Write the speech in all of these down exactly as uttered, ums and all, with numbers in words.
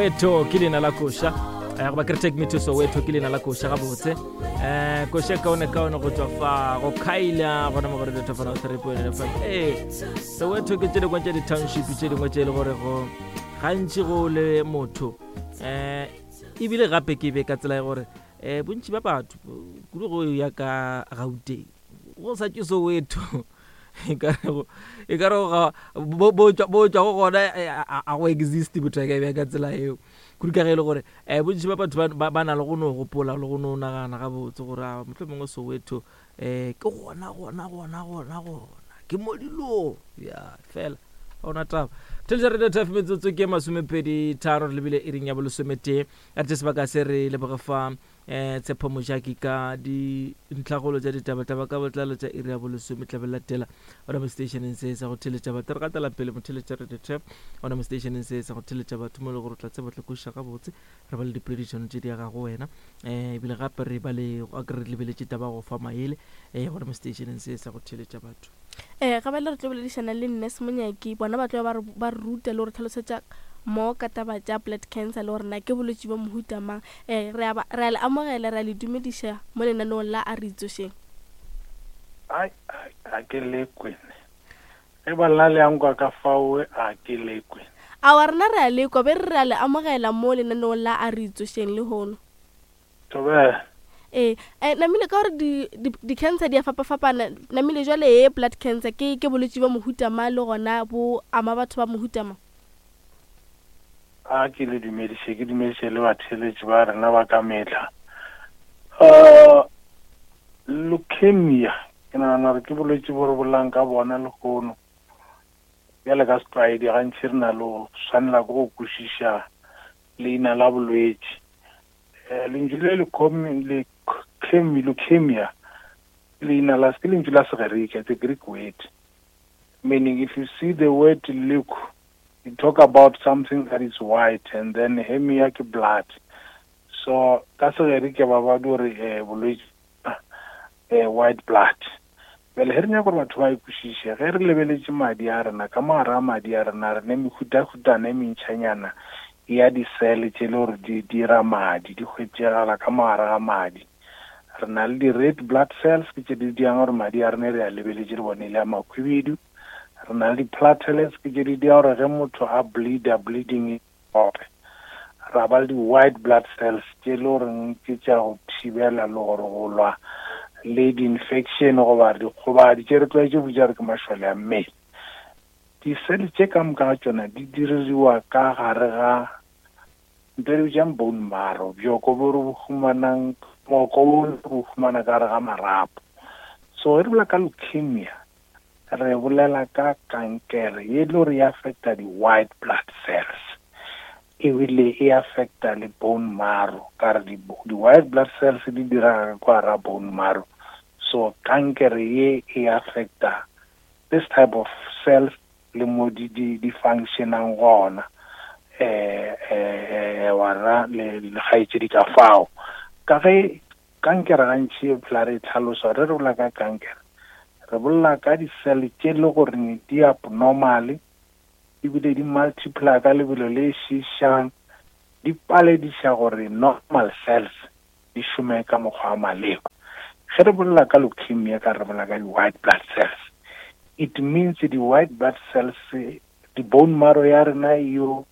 Soweto ke leina la koša, eh, goba ke re Take Me to Soweto ke leina la koša gabotse. um koša e kaone kaone go tswa fa go khaila gona mo go Radio Top three point F M. Ee, Soweto ke tše dingwe tša di-township tše dingwe tše e le gore go gantši go le motho, um ebile gape ke be ka tsela ya gore um bontši ba batho kudu go ya ka Gauteng go sa tše Soweto, e ka re e ka re bo bo bo tšwa go gona a go exist motho a ka e ka tsela eo, kudu ka ge e le gore um bontši ba batho ba na le go no gopola le go no nagana gabotse gore a mohlomongwe mongwe Soweto um ke gona gona gona gona gona ke mo dilong ya fela ga ona taba. Theletša Radio Taf, metsotso ke masomepedi tharo re lebile iring ya bolesometee. A re tše sebaka se re leboge fa um Tshepo Mojaki ka dintlhagolo tša ditaba-taba ka botlalo tša iri ya bolesome tlabe latela ona mo stationeng se sa go theletša batho. Re gatela pele motheletša Radio Taf ona mo stationeng se sa go theletša batho mo e le gore o tla tseba tla kwešiša gabotse. Re ba le dipoledišano tše di agago wena, um ebile gape re ba le a ke re lebeletše taba go fa maele um gona mo stationeng se sa go theletša batho. Ee, ga bjale re tlo boledišana le Nurse Monyaki, bona ba tlo ba re ba re ruta le go re tlhalosetša mo ka taba tša blood cancer le gore na ke bolwetši bja mohuta mang. Ee, re a ba re a le amogela, re a le dumediša mo lenaneong la A Re Itsošeng. Ai, ai, a ke lekwe. Ge ba nna le yang kwa ka fao, a ke lekwe. Aowa, rena re a lekwa, be re re a le amogela mo lenaneong la A Re Itsošeng lehono. Thobela. Ee, eh, namile ka gore di, di, di-cancer di a fapafapana, namile jwale ye blood cancer ke, ke bolwetši bja mohuta mang le gona bo ama batho ba mohuta mang? A ke le dumediše, ke dumediše le batheeletši ba rena ba ka mehla. Uh, leukemia, ke nagana gore ke bolwetši bo re bolelang ka bona lehono. Bjale ka setlwaedi gantši re na le go swanela ke go kwešiša leina la bolwetši. Eh, lentšu le leukemia, leina la ke lentšu la Segerika, it's a Greek word. Meaning if you see the word leuk, you talk about something that is white, and then hemia ke blood. So ka Segerika ba ba di gore eh, bolwetši eh, white blood. Bjale ge re nyaka gore batho ba e kwešiše, ge re lebeletše madi a rena, ka mo gare ga madi a rena re ne mehutahutana e mentšhanyana ya di-cell tše le gore di dira madi, di hwetšegala ka mo gare ga madi. Re na le di-red blood cells, ke tše di dirang gore madi a rena re a lebeletše re bone e le a makhwibidu. Re na le di-platelets, ke tše di dira gore ge motho a bleeda, bleeding e stope. Ra ba le di-white blood cells tše le goreng ke tša go thibela le gore go lwa le di-infection goba dikgobadi tše re tlwaetše go bitša re ke mašole a mmele. Di-cell tše ka moka ga tšona di diririwa ka gare ga ntho e re bitsang bone marrow, bjoko bo re bo humanang, moko bo re bo humana ka gare ga marapo. So ge re bolela ka leukemia, re bolela ka kankere ye le gore e affecta di-white blood cells, ebile e affecta le bone marrow, ka re di-white blood cells di dira ka gare ga bone marrow. So kankere ye e affecta this type of cells le mo di di di functionang gona, eh eh wa ra le le kgaetšedi ka fao. Ka ge kankere gantši e phela re e tlhalosa, re re bolela ka kankere, re bolela ka di-cell tše le gore di abnormal, ebile di multiply ka lebelo le šišang, di palediša gore normal cells di šome ka mokgwa wa maleba. Ge re bolela ka leukemia, ka re bolela ka di-white blood cells, it means di-white blood cells, di-bone marrow ya rena yo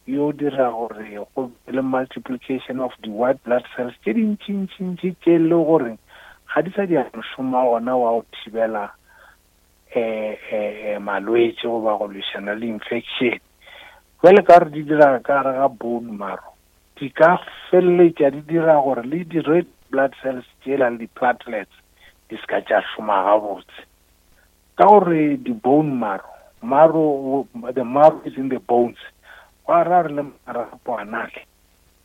yo dira gore go be le multiplication of the white blood cells tše dintšintšintši tše le gore ga di sa di mošomo wa gona wa go thibela eh eh malwetši goba go lwešana le infection. Jwale ka gore di dira ka gare ga bone marrow, di ka feleletša di dira gore le di-red blood cells tšela le di-platelets di se ka tša šoma gabotse. Ka gore di-bone marrow, marrow, the marrow is in the bones, gwa ra re le marapo a nale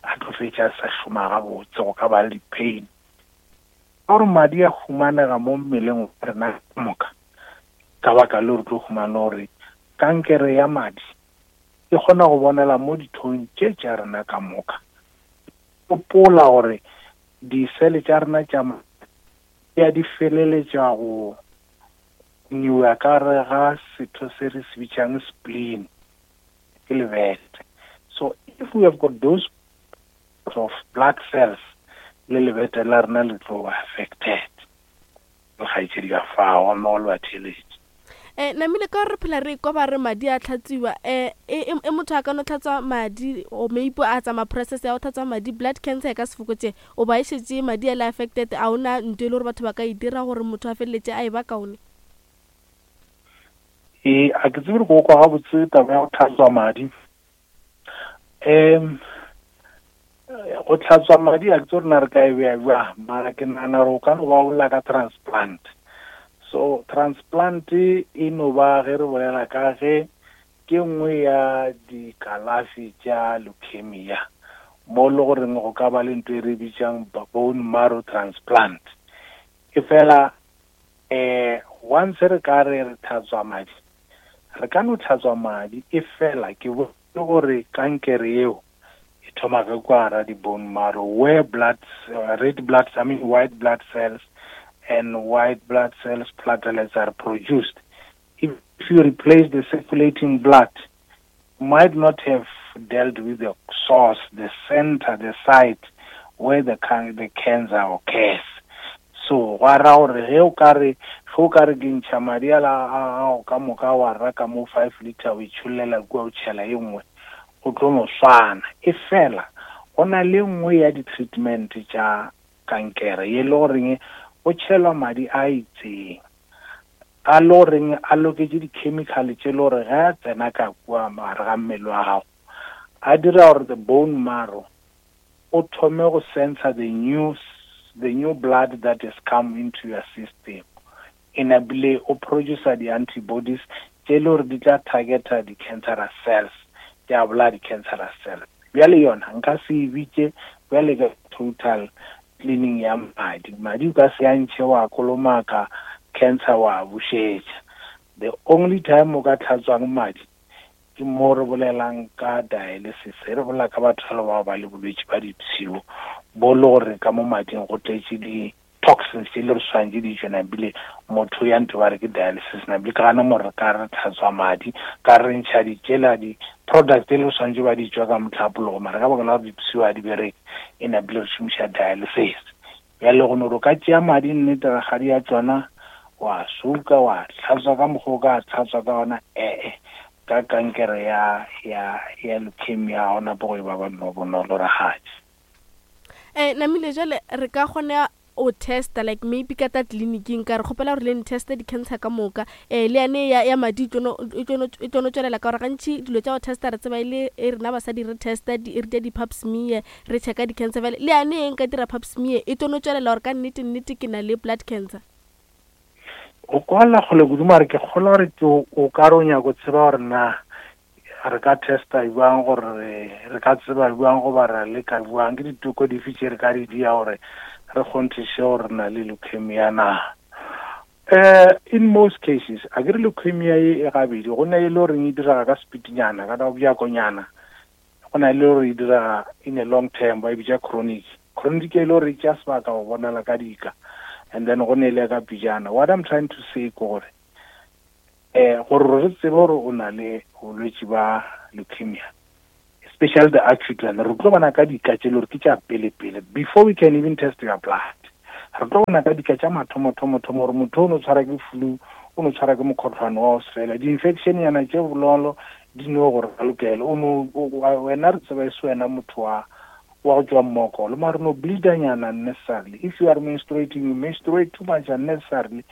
a tlo fetša a sa šoma gabotse, go ka ba le di-pain. Ka gore madi a humanega mo mmeleng wa rena ka moka, ka baka leo re tlo humana gore kankere ya madi e kgona go bonela mo dithong tše tša rena ka moka. Gopola gore di-cell tša rena tša madi ya di feleletša go nyiwa ka gare ga setho se re se bitšang spleen, ke lebete. So if we have got those of blood cells, le lebete la rena le tlo ba affected. Kgaetšedi ka fao mo le ba theeletše. Eh namile ka re phela re kwa ba re madi a tlhatsiwa, eh e e motho a ka no tlhatswa madi o maybe a tsamaya process ya go tlhatswa madi, blood cancer e ka se fokotse o ba e šetše madi a le affected, a ona ntho e le gore batho ba ka e dira gore motho a feleletse a e ba kaone? E a ke tsebe go kwa gabotse taba ya go tlhatswa madi. Um go tlhatswa madi a ke tse rena re ka e bea bjang, mara ke nagana gore o ka no ba bolela ka transplant. So transplant e no ba ge re bolela ka ge ke nngwe ya dikalafi tša leukemia, mo le goreng go ka ba le ntho e re bitsang bone marrow transplant. E fela eh once re ka re re tlhatswa madi, re ka no tlhatswa madi, e fela ke bone gore kankere eo e thoma ka kwa hara di-bone marrow where blood, uh, red blood, I mean white blood cells and white blood cells platelets are produced. If you replace the circulating blood, you might not have dealt with the source, the center, the site where the, can the cancer occurs. So gwa ra gore ge o ka re ge o ka re ke ntšha madi a la a gago ka moka wa reka mo five liter o itšhollela kua o tšhela e nngwe, go tlo no swana. E fela go na le nngwe ya di-treatment tša kankere ye le goreng go tšhelwa madi a itseng a le goreng a loketše di-chemical tše le gore ge a tsena ka kua gare ga mmele wa gago a dira gore the bone marrow o thome go sensor the new the new blood that has come into your system, enable o produce di-antibodies tše le gore di tla targeta di-cancerous cells, di a bolaya di-cancerous cells. Bjale yona nka se e bitše bjale ka total cleaning ya madi. Madi o ka se a ntšhe wa kolomaka cancer wa bušetša. The only time o ka tlhatswang madi ke mo re bolelang ka dialysis, re bolela ka batho ba ba le bolwetši ba dipshio bo le gore ka mo mading go tletše di-toxins tše le re swanetše di tšwe, nabile motho ya ntho ba re ke dialysis, nabile ka gana mo re ka re tlhatswa madi ka re ntšha ditšela di-product tse le re swanetše ba di tšwa ka mohlapologo, mara ka baka la gore dipshio ga di bereke e nabile re šomiša dialysis. Bjale go no re o ka tšea madi nnete rakgadi ya tšona wa suka wa tlhatswa ka mokgwa o ka tlhatswa ka ona, ee ka kankere ya ya ya leukemia ga ona bo go e ba ba no bonolo rakgadi. Eh namile jale re ka kgona o testa like maybe ka ta tleliniking ka re kgopela gore le nteste di-cancer ka moka, eh le yane ya, ya madi e tlono e tlono tswelela ka gore gantši dilo tša go testa re tseba e le e rena basadi re testa di re di pap smear re checka di-cancer, bjale le yane e nka dira pap smear e tlono tswelela gore ka nnete nnete ke na le blood cancer. O kwala kgole kudu mare ke kgolwa gore ke o ka re o nyaka go tseba gore na re ka testa jwang gore re ka tseba jwang goba ra leka jwang, ke diteko dife tše re ka di dia gore re kgonthiše gore re na le leukemia na. Uh, in most cases a ke re leukemia ye e gabedi, go na e le goreng e direga ka speednyana ka bjakonyana, go na le gore e direga in a long term ba e bitša chronic. Chronic e le gore e tšea sebaka go bonala ka dika, and then go ne le ka pijana. What I'm trying to say ke gore eh gore re tsebe gore o na le bolwetši ba leukemia, especially the acute one, re tlo bona ka dika tše le gore ke tša pele-pele before we can even test your blood. Re tlo bona ka dika tša mathomo-thomo-thomo gore motho o no tshwara ke flu, o no tshwara ke mokgohlwane wa go sefela, di-infection nyana tše bonolo di no gore ka lokela o no wena re tseba e se wena motho wa wa go tšwa mmokolo, mare no bleeda nyana unnecessarily. If you are menstruating, you menstruate too much unnecessarily,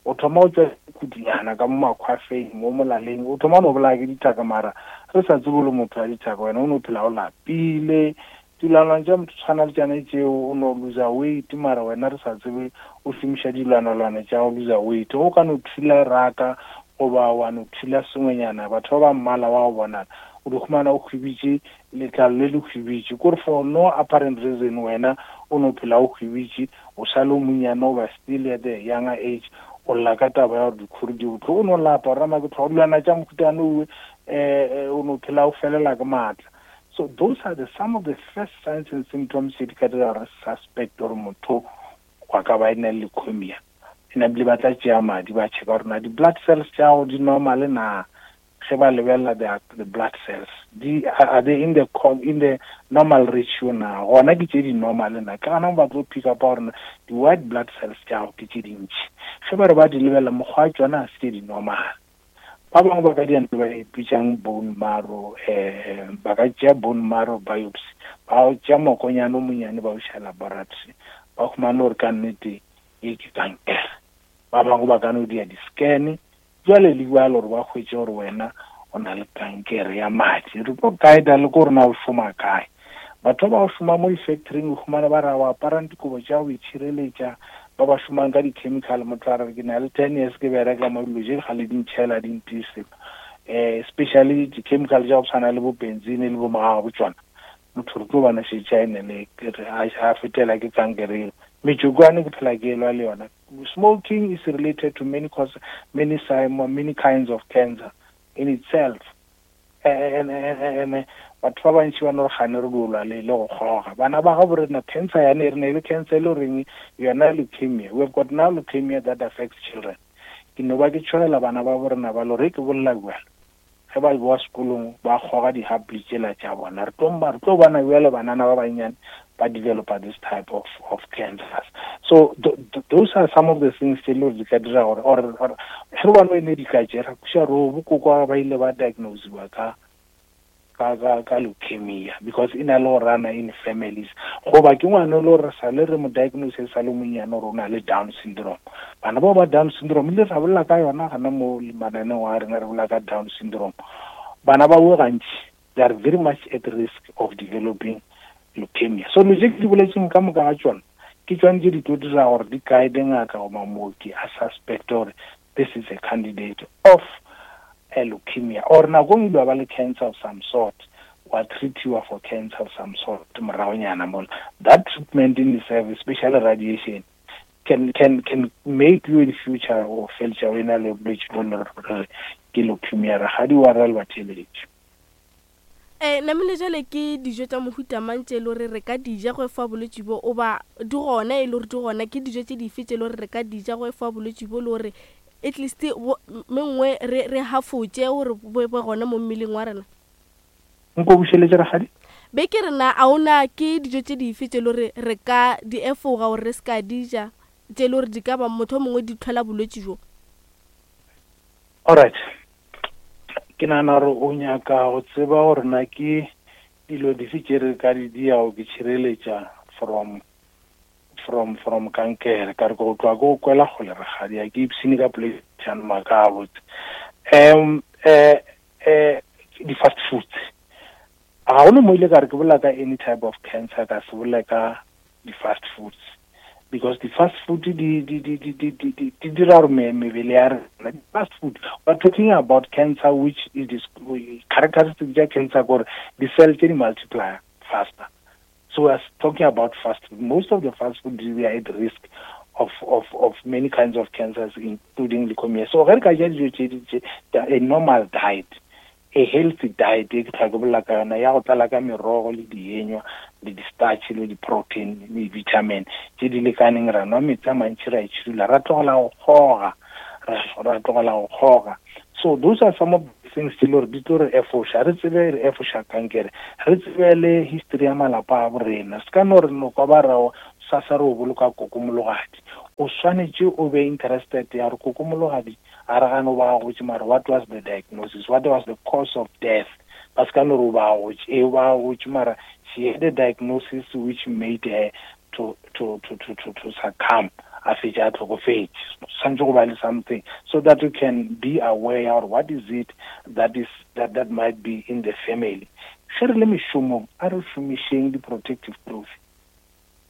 o thoma go tšwa kudunyana ka mo makgwafeng mo molaleng, o thoma no bolaya ke dithaka, mara re sa tsebe le motho wa dithaka, wena o no phela o lapile. Dilwanalwana tša motho tshwana le tšane tšeo, o no loser weight, mara wena re sa tsebe o šomiša dilwanalwana tša go loser weight. Go ka no thula raka goba wa no thula sengwenyana, batho ba ba mmala wa go bonala o di humana o hwibitše letlalo le le hwibitše, kore for no apparent reason wena o no phela o hwibitše, o sale o monnyane o ba still at the younger age, o lla ka taba ya gore dikhuri di bohloko, o no lapa gore rama ke tlhogo dilwana tša mokutane owe, um o no phela o felela ke maatla. So those are the some of the first signs and symptoms tše di ka dira gore suspect gore motho wa ka ba e na le leukemia. Ene ebile ba tla tšea madi ba checka gore na di-blood cells tša gago di normal na, Ge ba lebelela the, the blood cells, di are they in the in the normal ratio na? Gona ke tše di normal na? Ke gana ba tlo pick up gore di white blood cells tša gago ke tše dintši. Ge ba re ba di lebelela mokgwa wa tšona ga se tše di normal. Ba bangwe ba ka dia ntho ba e bitsang bone marrow, eh ba ka tšea bone marrow biopsy, ba tšea mokonyana o monyane ba o iša laboratory, ba humane gore ka nnete e ke kankere. Ba bangwe ba ka no dia di-scan jwale le jwalo gore ba hwetše gore wena o na le kankere ya madi. Re tlo guide le ko rena o šoma kae. Batho ba ba šoma mo di-factoring o humane ba re o aparang dikobo tša go itšhireletša, ba ba šomang ka di-chemical, motho a re ke na le ten years ke bereka mo dilo tše ga le di ntšhela di ntise, um especially di-chemical tša go tshwana le bo benzene le bo mogago bo tšona, motho re tlo bana šetše a ene le a fetela ke kankere eo. Metsokwane ke phela ke elwa le yona. Smoking is related to many cause, many many kinds of cancer in itself. And and batho ba bantši ba no re gane re lwa le le go kgoga. Bana ba gabo rena cancer yane re ne le cancer e le goreng yona leukemia. We have got now leukemia that affects children. Ke no ba ke tshogela bana ba bo rena ba lo re ke bolela bjalo. Ge ba boa sekolong ba kgoga di-habli tšela tša bona. Re tlo re tlo bona bjale banana ba bannyane ba developa this type of of cancers. So th th those are some of the things tse le gore di ka dira gore or or ge re bano e ne di ka tšera kuša ro bokoko ba ile ba diagnosiwa ka ka ka ka leukemia because e na le go rana in families. Goba ke ngwana le gore sa le re mo diagnose sa le monyane gore o na le Down syndrome. Bana bao ba Down syndrome ile ra bolela ka yona gana mo mananeo a rena re bolela ka Down syndrome. Bana ba bo gantši they are very much at risk of developing leukemia. So dilo tše ke di boletseng ka moka ga tšona ke tšone tše di tlo dira gore di guide ngaka goba mooki a suspect gore this is a candidate of a leukemia or nakong ile ba le cancer of some sort, wa treatiwa for cancer of some sort moragonyana mola. That treatment in itself, especially radiation, can can can make you in future o feletša o ena le bolwetši bo le gore ke leukemia. Rakgadi wa ra le batheeletši. Eh namile jale ke dijo tša mohuta mang tše e le gore re ka di ja go efoga bolwetši bo, oba di gona e le gore di gona, ke dijo tše dife tše e le gore re ka di ja go efoga bolwetši bo, le gore at least mengwe re re hafotše gore bo be gona mo mmeleng wa rena? Nko bušeletše rakgadi. Be ke re na a ona ke dijo tše dife tše e le gore re ka di efoga gore re se ka di ja, tše e le gore di ka ba motho o mongwe di tlhola bolwetši jo? Alright. Ke nahana gore o nyaka go tseba gore na ke dilo dife tše re ka di diago ke tšhireletša from from from kankere. Ka re go tloga ke go kwela kgole rakgadi, ha ke ipshine ka poledišano maka a botse. Um eh eh di-fast foods ga gona mo ile ka re ke bolela ka any type of cancer ka se bolela ka di-fast foods, because the fast food di di di di di di di di dira gore mebele ya rena. Fast food, we're talking about cancer which is this characteristic tša cancer gore di-cell tše di multiply faster. So we are talking about fast food. Most of the fast food we are at risk of of of many kinds of cancers including leukemia. So ge re ka ja dijo tše tše a normal diet, a healthy diet e ke tlhoka ke bolela ka yona ya go tlala ka merogo le dienywa le di-starch le di-protein le di-vitamin tše di lekaneng, ra nwa metsi a mantši, ra itšhidula, ra tlogela go kgoga, ra tlogela go kgoga. So those are some of the things tse le gore di tlo re efoša, re tsebe re efoša kankere, re tsebe le history ya malapa a bo rena. Se ka no re no kwa ba ra sasa re o boloka kokomologadi, o swanetše o be interested ya gore kokomologadi a re gane o ba gotše, mara what was the diagnosis, what was the cause of death? Ba se ka no re o ba gotše, ee o ba gotše, mara she had a diagnosis which made her to to to to to, to succumb, a fetša a tlhokofetše. Swanetše go ba le something so that you can be aware or what is it that is that that might be in the family. Ge re le mešomong a re šomišeng di-protective clothing,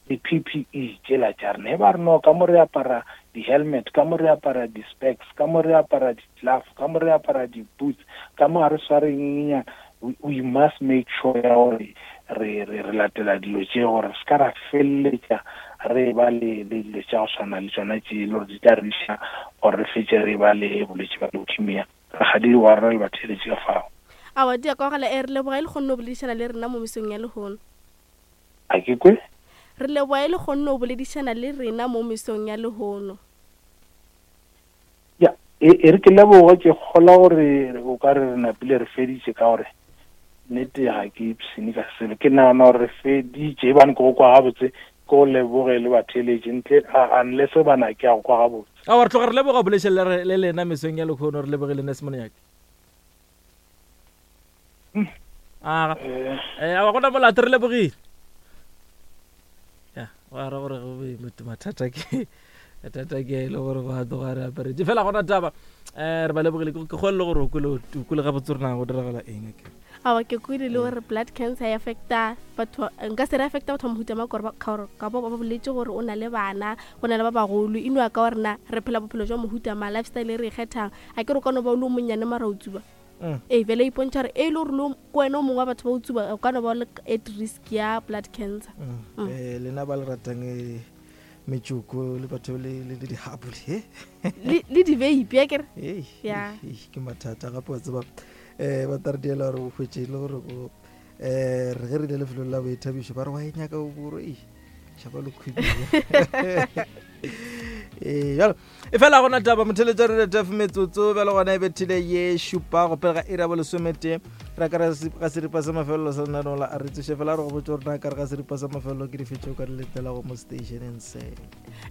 di-P P E tšela tša rena. E ba re no ka mo re apara di-helmet, ka mo re apara di-specs, ka mo re apara di-glove, ka mo re apara di-boots, ka mo ga re sware eng, we, we must make sure ya gore re re re latela dilo tše gore se ka ra feleletša re ba le le dilo tša go tshwana le tšona tše le gore di tla re iša gore re fetše re ba le bolwetši ba leukemia. Rakgadi wa rena le batheeletši ka fao. Aowa, di a kwagala. E re leboga e le kgonne ho boledišana le rena mo mesong ya lehono. A ke kwe? Re leboga e le kgonne ho boledišana le rena mo mesong ya lehono. Ya, E e re ke leboge ke kgola gore o ka re re napile re feditše ka gore nnete ga ke ipshine ka selo. Ke nagana gore re feditše ebane ke go kwa gabotse, ke go leboge le batheeletši ntle unless bana ke a go kwa gabotse. Aowa, re tloga re leboga bolešeng le re le lena mesong ya lekgono, re lebogile Nurse Monyaki. Aga. Eh, aowa gona molato, re lebogile. Ya, wa ra gore go be motho mathata ke mathata ke e le gore go a tloga re aparetše fela gona taba. Eh, re ba lebogile, ke kgolele gore o kwele o kwele gabotse gore na go diragala eng akere. Aowa, ke kwele le gore blood cancer e affecta batho, nka se re affecta batho ba mohuta mang gore ka gore ka bo ba boletse gore o na le bana, go na le ba bagolo, e no ya ka gore na re phela bophelo jwa mohuta mang, lifestyle e re e kgethang. A ke re o ka no ba o le o monnyane mara o tsuba. Mm. Ee, bjale e ipontšha gore e le gore le ke wena o mongwe wa batho ba o tsuba, o ka no ba o le at risk ya blood cancer. Mm. Mm. Eh, lena ba le ratang eh, metsoko le batho le le dihapu le le le di-vape akere? Ei, Ya. ei, ke mathata gape wa tseba eh ba tla re diela gore o hwetše e le gore o eh re ge re ile lefelong la boithabišo ba re wa e nyaka o boro ei tšhaba le khwibia. Ee, jalo e fela gona taba motheletša re retf metsotso bjalo gona e bethile ye šupa go pele ga iri ya bolesometee re ka re ga seripa sa mafelelo sa lenaneo la a re tsoše fela re go botse gore na ka re ga seripa sa mafelelo ke dife tšeo ka di letelago mo stationeng se.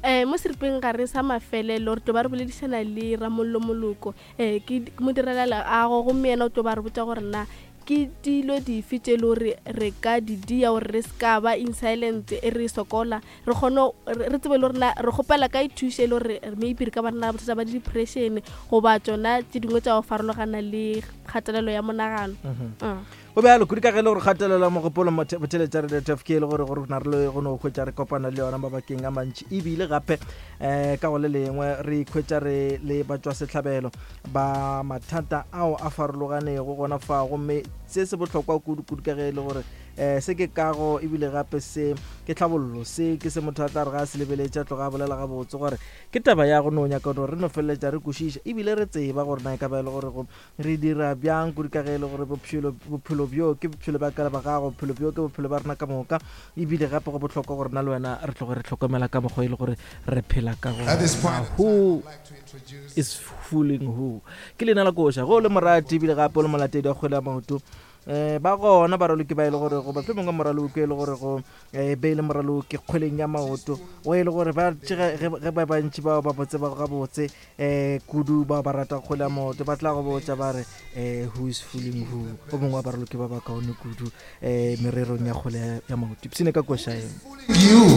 Eh, mo seripeng gare sa mafelelo re tlo ba re boledišana le Ramollo Moloko, eh, ke modirela leago, gomme yena o tlo ba re botša gore na ke dilo dife tše e le gore re ka di dia gore re se ka ba in silent e re sokola, re kgone re tsebe le gore na re kgopela kae thušo e le gore maybe re ka ba re na le bothata ba di-depression goba tšona tše dingwe tša go farologana le kgatelelo ya monagano. Mm. Go bjalo kudu ka ge e le gore kgatelelo ya mogopolo motheletša re F K e le gore gore na re le go no hwetša re kopana le yona mabakeng a mantši, ebile gape um ka go le lengwe re ikhwetša re le batšwasehlabelo ba mathata ao a farologanego gona fa. Gomme se se bohlokwa kudu-kudu ka ge e le gore um se ke kago ebile gape se ke tlhabollo, se ke se motho a tla re ga a se lebeletše a tloga a bolela gabotse gore ke taba ya go no nyaka gore re no feleletša re kwešiša ebile re tseba gore na e ka ba e le gore go re dira bjang kudu ka ge e le gore bophelo bophelo bjo ke bophelo ba ka le ba gago, bophelo bjo ke bophelo ba rena ka moka, ebile gape go bohlokwa gore na le wena re tloge re hlokomela ka mokgwa e le gore re phela ka gona. Who is fooling who? Ke leina la koša go le morati ebile gape o le molatedi wa kgwele ya maoto. Eh ba gona baraloki ba e le gore go ba mongwe moraloki e le gore go eh be le moraloki kgweleng ya maoto o e le gore ba ge ba bantši bao ba botse ba gabotse eh kudu ba ba rata kgwele ya maoto ba tla go botša ba re eh who is fooling who, o mongwe wa baraloki ba ba kaone kudu eh mererong ya kgwele ya maoto. Ipshine ka koša eno. You.